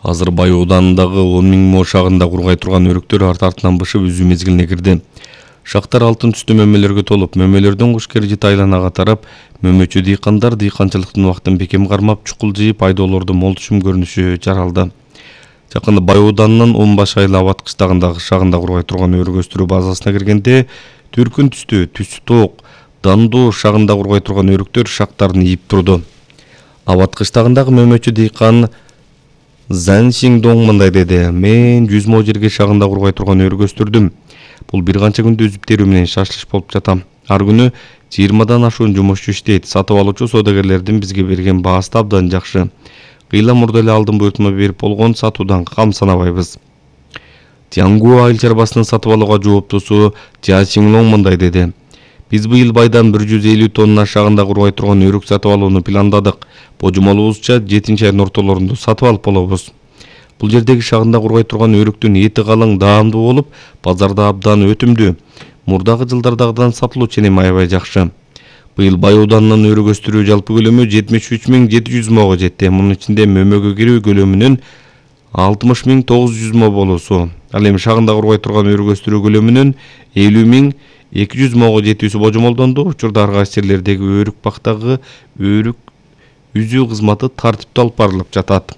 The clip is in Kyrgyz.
Азыр Бай ауданындагы 10 000 мо шагында кургай турган өрүктөр арт-артынан бышып үзүү мезгилине кирди. Шактар алтын түстүү мөмөлөргө толуп, мөмөлөрдөн куш кережит айланага тарап, мөмөчү дыйкандар дыйканчылыктын убактын бекем кармап, чукул жыйып айдоолорду мол түшүм көрүнүшү жаралды. Жакында Бай ауданынын 10 баш айла абат кыштагындагы шагында кургай турган өрүк өстүрүү базасына киргенде, түркүн түстүү, түсү тоок, дандуу шагында кургай турган өрүктөр шактарын ийип турду. Абат кыштагындагы мөмөчү дыйкан Зан Сиңдоң мындай деди: "Мен 100 мо жерге шагында кургай турган өрүк өстүрдүм. Бул бир канча күндө үзүп терүү менен шашлыш болуп жатам. Ар күнү 20дан ашуун жумушчу иштейт. Сатып алуучу содагерлердин бизге берген баасы да абдан жакшы. Кыйла мурда эле алдын буйртма берип болгон сатуудан кам санабайбыз." Тянгу айыл чарбасынын сатып алууга жооптусу Жа Сиңлоң мындай деди: "Биз быйыл байдан 150 тонна шагында кургай турган өрүк сатып алууну пландадык. Божомолубузча 7-айдын ортолорунда сатып алып болобуз. Бул жердеги шагында кургай турган өрүктүн эти калың, даамдуу болуп, базарда абдан өтүмдүү. Мурдагы жылдардагыдан сатылуу ченеми аябай жакшы. Быйыл Бай ауданынын өрүк өстүрүү жалпы көлөмү 73 700 мого жетти. Мунун ичинде мөмөгө кирүү көлөмүнүн 60 900 мо болуусу. Ал эми шагында кургай турган өрүк өстүрүү көлөмүнүн 50 200 мого жетүүсү божомолдонду. Учурда ар кайсы жерлердеги өрүк бактагы өрүк үзүү кызматы тартиптүү алып барылып жатат.